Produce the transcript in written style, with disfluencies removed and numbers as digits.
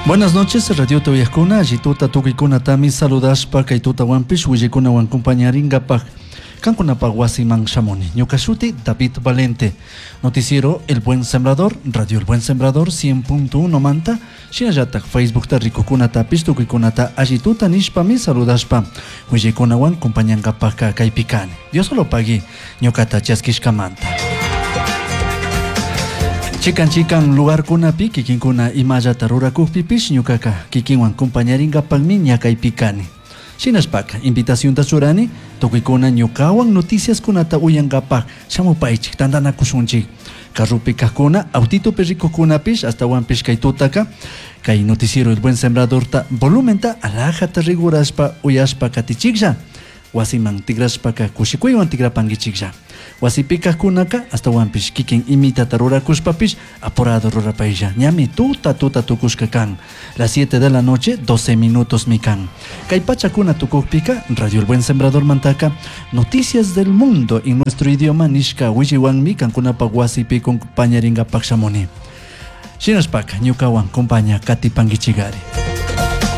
Buenas noches, Radio Uyajkuna, allituta tukuykunatami saludashpa kay tutawanpish willikunawan compañaringapaj kankunapaj wasiman shamuni. Ñuka shuti David Valente. Noticiero El Buen Sembrador, Radio El Buen Sembrador 100.1 manta, shinallataj Facebookta rikukunatapish tukuykunata allituta nishpami saludashpa willikunawan compañangapajka kaypi kani. Dios solo pagui ñukata chaskishkamanta. Chikan chikan lugarkunapi kikinkuna imallata rurakukpipish ñukaka kikinwan compañaringapakmi ñakaypi kani. Shinashpaka invitacionta churani tukuykuna ñukawan noticiaskunata uyankapak shamupaychik tantanakushunchik. Carrupi kajkuna, autitopi rikukkunapish ashtawanpish kay tutaka kay noticiero El Buen Sembradorta volumenta alajata rigurashpa uyashpa katichiklla. Wasiman tigrashpaka kushikuywan tigrapankichiklla. Wasipi kajkunaka ashtawanpish kikin imitata rurakushpapish apurado rurapaylla. Ñami tuta tuta tukushka kan. Las 7 de la noche, 12 minutos mi kan. Kay pachakuna tukukpika, Radio El Buen Sembrador mantaka, noticias del mundo en nuestro idioma nishka williwanmi kankunapa wasipi compañaringapaq shamuni. Shinashpaka ñukawan compaña katipankichigari.